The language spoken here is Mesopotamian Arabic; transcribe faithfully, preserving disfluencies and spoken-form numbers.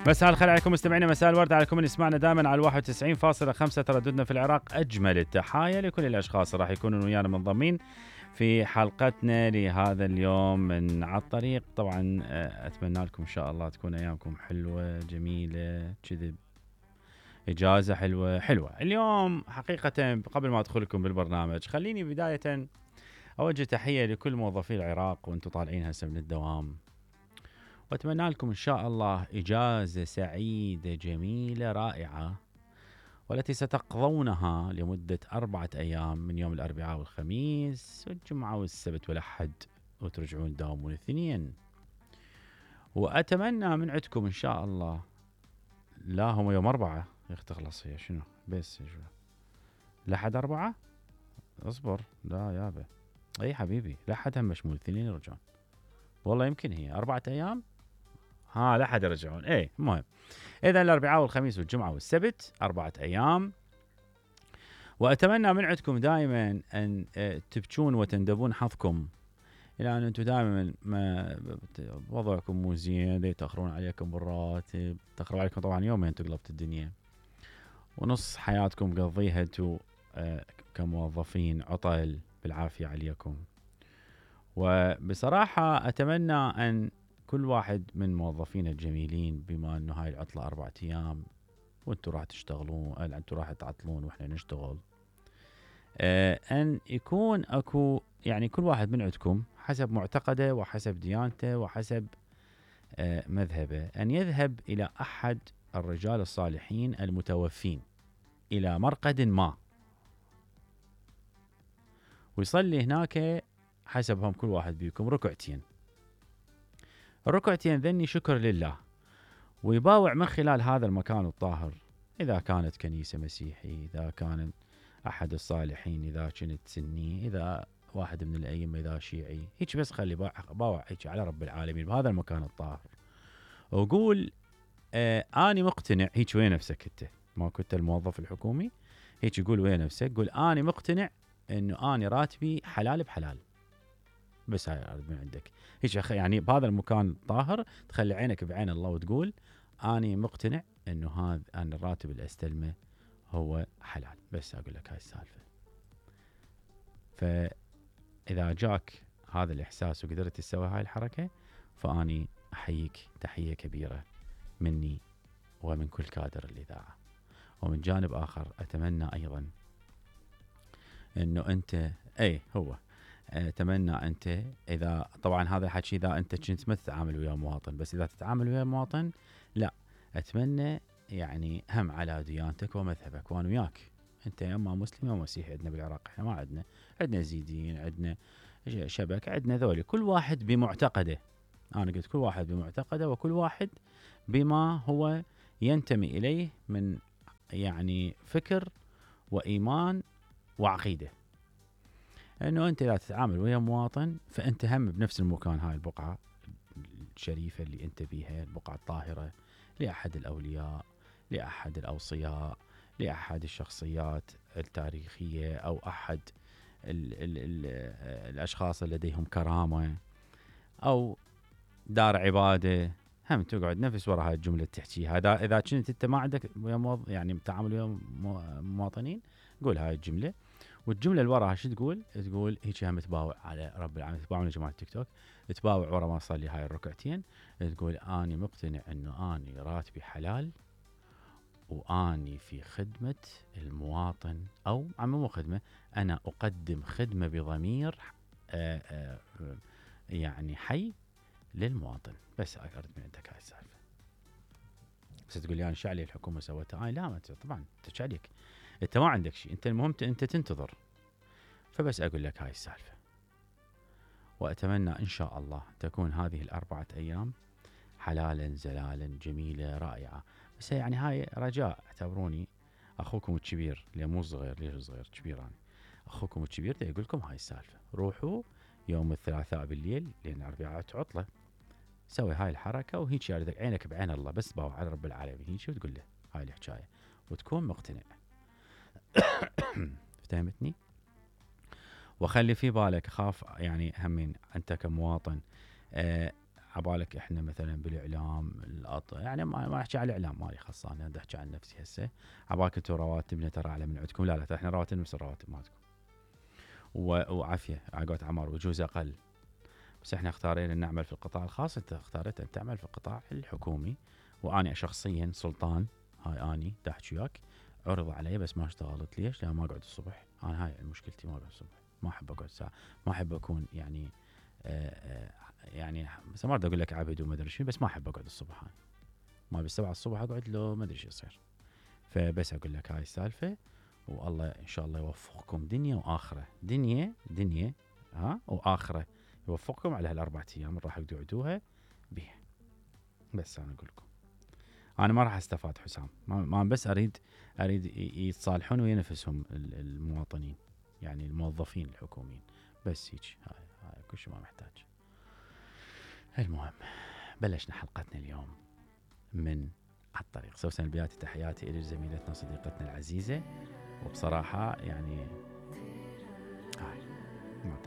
مساء الخير عليكم مستمعينا، مساء الورد عليكم اللي يسمعنا دائما على واحد وتسعين فاصلة خمسة ترددنا في العراق. أجمل التحايا لكل الأشخاص راح يكونوا ويانا منضمين في حلقتنا لهذا اليوم من على الطريق. طبعا أتمنى لكم إن شاء الله تكون أيامكم حلوة جميلة كذب، إجازة حلوة حلوة اليوم. حقيقة قبل ما أدخل لكم بالبرنامج خليني بداية أوجه تحية لكل موظفي العراق وأنتم طالعين هسه من الدوام، وأتمنى لكم إن شاء الله إجازة سعيدة جميلة رائعة، والتي ستقضونها لمدة أربعة أيام من يوم الأربعاء والخميس والجمعة والسبت والأحد، وترجعون تداومون الاثنين. وأتمنى من عندكم إن شاء الله، لا هم يوم أربعة يختخلص هي شنو بس شو لحد أربعة اصبر، لا يابا أي حبيبي لحد هم مشمول الاثنين يرجعون، والله يمكن هي أربعة أيام ها لحد يرجعون. ايه المهم اذا الاربعاء والخميس والجمعه والسبت اربعه ايام. واتمنى من عندكم دائما ان تبكون وتندبون حظكم، الى ان انتم دائما ما وضعكم مو زين، يتاخرون عليكم بالراتب، تاخروا عليكم طبعا يومين تقلبت الدنيا، ونص حياتكم قضيها انتم كموظفين عطل بالعافيه عليكم. وبصراحه اتمنى ان كل واحد من موظفين الجميلين، بما انه هاي العطلة أربعة ايام وانتم راح تشتغلون، انتم راح تعطلون واحنا نشتغل، آه ان يكون اكو يعني كل واحد من عندكم حسب معتقده وحسب ديانته وحسب آه مذهبه ان يذهب الى احد الرجال الصالحين المتوفين الى مرقد ما، ويصلي هناك حسبهم كل واحد بيكم ركعتين الركعتين ذني شكر لله، ويباوع من خلال هذا المكان الطاهر، إذا كانت كنيسة مسيحي، إذا كان أحد الصالحين، إذا كنت سني، إذا واحد من الأئمة، إذا شيعي، هيك بس خلي باوع هيك على رب العالمين بهذا المكان الطاهر، وقول آه أنا مقتنع. هيك ويا نفسك أنت، ما كنت الموظف الحكومي، هيك يقول ويا نفسك، قول أنا مقتنع إنه أنا راتبي حلال بحلال، بس هاي أرد من عندك هيك يعني بهذا المكان الطاهر تخلي عينك بعين الله وتقول أنا مقتنع إنه هذا أنا الراتب اللي أستلمه هو حلال، بس أقول لك هاي السالفة. فإذا جاك هذا الإحساس وقدرت تسوي هاي الحركة، فأني أحييك تحية كبيرة مني ومن كل كادر الإذاعة. ومن جانب آخر أتمنى أيضا إنه أنت أي هو أتمنى أنت، إذا طبعا هذا الحكي إذا أنت كنت ما تتعامل ويا مواطن، بس إذا تتعامل ويا مواطن لا، أتمنى يعني هم على ديانتك ومذهبك، وأنا وياك أنت يا أما مسلم يا مسيحي، عندنا بالعراق إحنا ما عندنا عندنا زيدين، عندنا شبك، عندنا ذولي، كل واحد بمعتقده. أنا قلت كل واحد بمعتقده، وكل واحد بما هو ينتمي إليه من يعني فكر وإيمان وعقيدة. انه انت لا تتعامل ويا مواطن، فانت هم بنفس المكان، هاي البقعة الشريفة اللي انت بيها، البقعة الطاهرة لأحد الأولياء، لأحد الأوصياء، لأحد الشخصيات التاريخية، أو أحد ال ال ال الأشخاص اللي لديهم كرامة، أو دار عبادة، هم تقعد نفس وراء هاي الجملة تحكي. هذا إذا كنت أنت ما عندك يعني تعامل ويا مواطنين، قول هاي الجملة. والجمله اللي وراها شو تقول؟ تقول هيك هم تباوع على رب العالمين، تباوع يا جماعه التيك توك، تباوع ورا ما اصلي هاي الركعتين، تقول اني مقتنع انه اني راتبي حلال، واني في خدمه المواطن، او مو خدمه، انا اقدم خدمه بضمير آآ آآ يعني حي للمواطن. بس ارد من عندك هاي السالفه. بس تقول لي انا شو علي الحكومه سوتها؟ آه لا، ما طبعا انت عليك، انت ما عندك شيء، انت المهم انت تنتظر. فبس اقول لك هاي السالفه، واتمنى ان شاء الله تكون هذه الاربعه ايام حلالا زلالا جميله رائعه. بس يعني هاي رجاء، اعتبروني اخوكم الكبير، اللي مو صغير، ليش صغير كبير انا، اخوكم الكبير دا يقول لكم هاي السالفه. روحوا يوم الثلاثاء بالليل لان الاربعاء عطله، سوي هاي الحركه، وهيك يردك عينك بعين الله، بس باو على رب العالمين هيك، وتقول له هاي الحكايه وتكون مقتنع. فهمتني؟ وخلي في بالك، خاف يعني همين انت كمواطن، آه عبالك احنا مثلا بالاعلام الأط... يعني ما ما احكي على الاعلام مالي خاصه، انا بدي احكي عن نفسي هسه. عبالك انتم رواتبنا ترى اعلى من عندكم، لا لا احنا رواتبنا نفس الرواتب مالتكم و... وعافيه عقد عمر وجوز اقل، بس احنا اختارينا نعمل في القطاع الخاص، انت اختاريت ان تعمل في القطاع الحكومي. وانا شخصيا سلطان، هاي اني دا احكي وياك، عرض علي بس ما اشتغلت. ليش؟ لان ما اقعد الصبح. انا هاي مشكلتي، ما اقعد الصبح، ما احب اقعد ساعه، ما احب اكون يعني آآ آآ يعني بس ما اقول لك عبد وما ادري شنو، بس ما احب اقعد الصبح. هاي ما بالسبعة الصبح اقعد لو ما ادري شو يصير. فبس اقول لك هاي السالفه، والله ان شاء الله يوفقكم دنيا واخره، دنيا دنيا ها واخره، يوفقكم على هالاربع ايام اللي راح تقعدوها بيها. بس انا اقول لكم انا ما راح استفاد حسام، ما, ما بس اريد اريد يتصالحون ويا نفسهم المواطنين، يعني الموظفين الحكوميين، بس هيك. هاي هاي كل شيء ما محتاج. المهم بلشنا حلقتنا اليوم من على الطريق. سوسن البياتي، تحياتي الى زميلتنا صديقتنا العزيزه، وبصراحه يعني